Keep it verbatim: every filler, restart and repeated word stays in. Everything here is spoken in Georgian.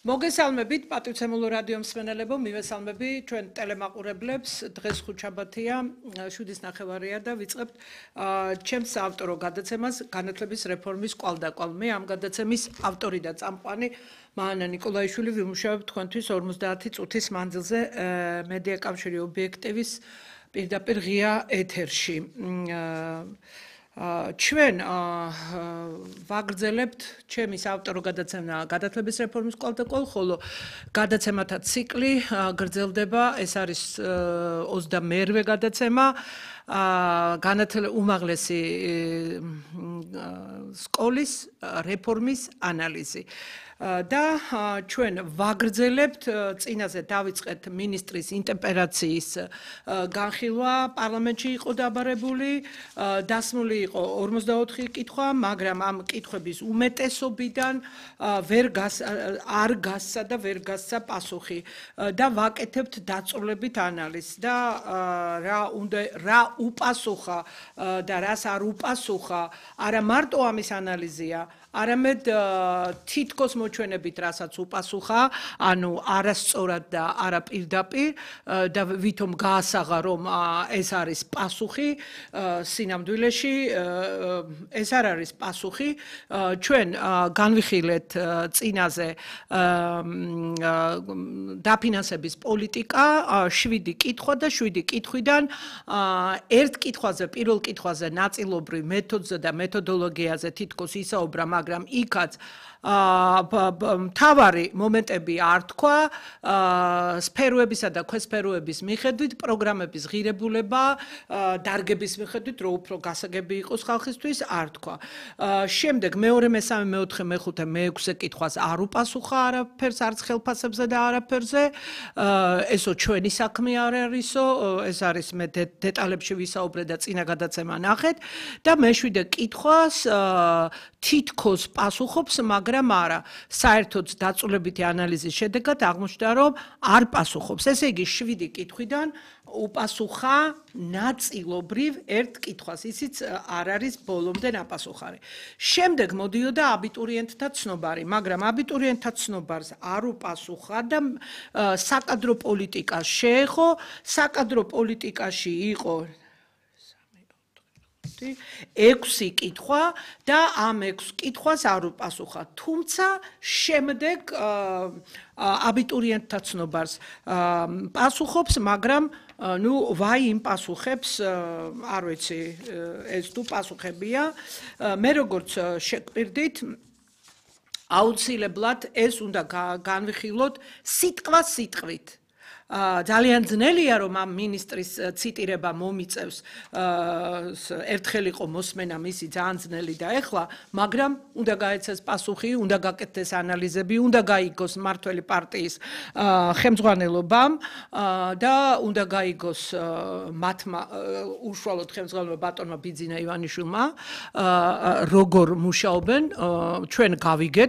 მოგესალმებით პატივცემულო რადიო მსმენელებო, მივესალმები ჩვენ ტელემაყურებლებს. დღეს ხუთშაბათია, შვიდის ნახევარია და ვიწყებთ ჩემს ავტორო გადაცემას განათლების რეფორმის კვალდაკვალ. მე ამ გადაცემის ავტორი და წამყვანი მაანა ნიკოლაიშვილი ვიმუშავებ თქვენთვის ორმოცდაათი წუთის მანძილზე მედია კავშირი ობიექტივის პირდაპირ ღია ეთერში. ჩვენ ვაგრძელებთ ჩემის ავტორო გადაცემა განათლების რეფორმის კვალდაკვალ, ხოლო გადაცემათა ციკლი გრძელდება, ეს არის ოცდამეერვე გადაცემა, უმაღლესი სკოლის რეფორმის ანალიზი. და ჩვენ ვაგრძელებთ წინაზე დავიწყეთ მინისტრის ინტერპელაციის განხილვა, პარლამენტში იყო დაბარებული, დასმული იყო ორმოცდაოთხი კითხვა, მაგრამ ამ კითხვების უმეტესობიდან ვერ არ გასცა და ვერ გასცა პასუხი და ვაკეთებთ დაწვრილებით ანალიზს და რა უნდა რა უპასუხა და რას არ უპასუხა, არა მარტო ამის ანალიზია, არამედ თითქოს მოჩვენებით, რასაც უპასუხა, ანუ არასწორად და არა პირდაპირ და ვითომ გაასაღა, რომ ეს არის პასუხი სინამდვილეში, ეს არ არის პასუხი. ჩვენ განვიხილეთ წინაზე დაფინანსების პოლიტიკა, შვიდი კითხვა და შვიდი კითხვიდან ერთ კითხვაზე, პირველ კითხვაზე ნაწილობრივ მეთოდზე და მეთოდოლოგიაზე თითქოს ისაუბრა, მაგრამ იქაც მთავარი მომენტები არ თქვა, სფეროებისა და ქვესფეროების მიხედვით, პროგრამების ღირებულება, დარგების მიხედვით, რო უფრო გასაგები იყოს ხალხისთვის, არ თქვა. შემდეგ მეორე, მესამე, მეოთხე, მეხუთე, მეექვსე კითხვას არ უპასუხა არაფერს, არც ხელფასებზე და არაფერზე. ესო ჩვენი საქმე არ არისო, ეს არის მე დეტალებში ვისაუბრე და წინა გადაცემა ნახეთ და მეშვიდე კითხვას თითქოს პასუხობს, მაგრამ არა. საერთოდ დაწვრილებითი ანალიზის შედეგად აღმოჩნდა, რომ არ პასუხობს. ესე იგი, შვიდი კითხვიდან უპასუხა ნაწილობრივ ერთ კითხვას, ისიც არ არის ბოლომდე ნაპასუხარი. შემდეგ მოდიოდა აბიტურიენტთა ცნობარი, მაგრამ აბიტურიენტთა ცნობარს არ უპასუხა და საკადრო პოლიტიკას შეეხო, საკადრო პოლიტიკაში იყო ექვსი კითხვა და ამ ექვს კითხვას არ უპასუხა. თუმცა შემდეგ აბიტურიენტთა ცნობარს პასუხობს, მაგრამ ნუ ვაი იმ პასუხებს, არ ვიცი, ეს თუ პასუხებია. მე როგორც შეგვირდით, აუცილებლად ეს უნდა განვიხილოთ სიტყვა სიტყვით. ძალიან ძნელია, რომ ამ მინისტრის ციტირება მომიწევს, ერთხელ იყო მოსმენა მისი ძალიან ძნელი და ეხლა, მაგრამ უნდა გაეცეს პასუხი, უნდა გაკეთდეს ანალიზები, უნდა გაიგოს მმართველი პარტიის ხელმძღვანელობამ და უნდა გაიგოს მათმა უშუალოდ ხელმძღვანელობამ ბატონმა ბიძინა ივანიშვილმა, როგორ მუშაობენ, ჩვენ გავიგეთ,